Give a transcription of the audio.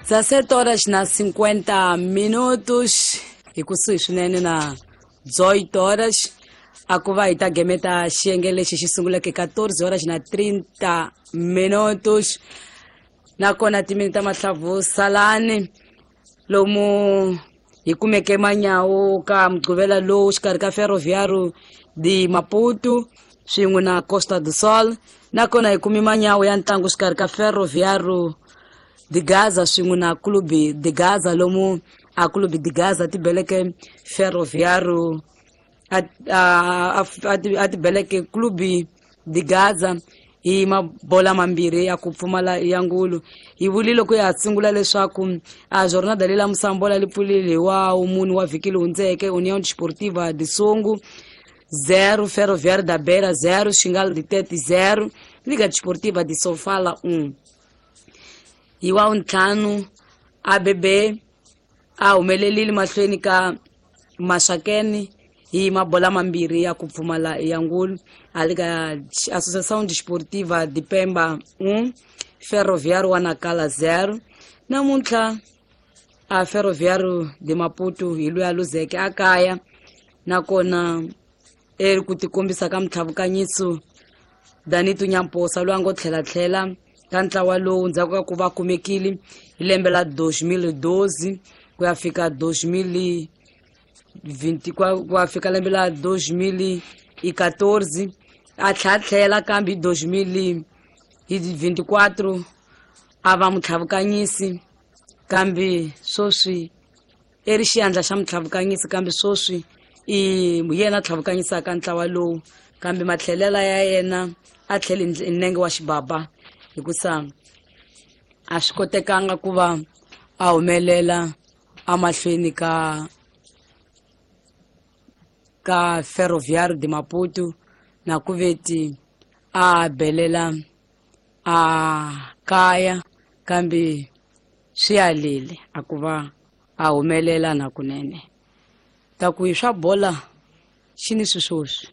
17 horas na 50 minutos hi kusuhi swinene na 18 horas a ku va hi ta gemeta xiyenge lexi xi sunguleke 14 horas na 30 minutos nakona timini ta mahlavu salani lomu hi kumeke manyawu ka mugqivela lowu xikarhi ka Ferroviário de Maputo swin'we na Costa do Sol, nakona hi kumi manyawu ya ntlangu xikarhi ka Ferroviário de Gaza swin'we na Clube de Gaza, lomu a Clube de Gaza ti beleke Ferroviário a ti beleke Clube de Gaza hi mabola mambirhi ya ku pfumala ya ngulu. Hi vulile ku ya sungula leswaku a jornada leyi la musambola li pfulile hi wa munhu wa vhiki leyi hundzeke, União Desportiva de Songo 0, Ferroviário da Beira 0, Xingal de Tete 0, Liga Desportiva de Sofala 1. Hi wa ntlhanu ABB a humelelile mahlweni ka Maxakeni hi mabola mambirhi ya ku pfumala ya ngulu. A Liga Associação Desportiva de Pemba 1, Ferroviário wa Nakala 0. Namuntlha a Ferroviário de Maputo hi loyi a luzeke a kaya, nakona eri ku tikombisa ka mutlhavukanyiso Danito Nyamposa loyi a ngo tlhelatlhela ka ntlawa lowu ndzhaku ka ku va kumekile hi lembe la 2012 ku ya fika 2020, ku ya fika lembe la 2014, a tlhatlhela kambe hi 2024 a va mutlhavukanyisi, kambe sweswi i ri xiandla xa mutlhavukanyisi, kambe sweswi i yena tlhavukanyisaka ntlawa lowu, kambe matlhelela ya yena a tlhele hi nenge wa xibaba hikusa a swi kotekanga ku va a humelela amahlweni ka Ferroviário de Maputo, na ku veti a belela a kaya, kambe swi alile a ku va a humelela na kunene. Ta ku hi swa bola xi ni swiswoswi.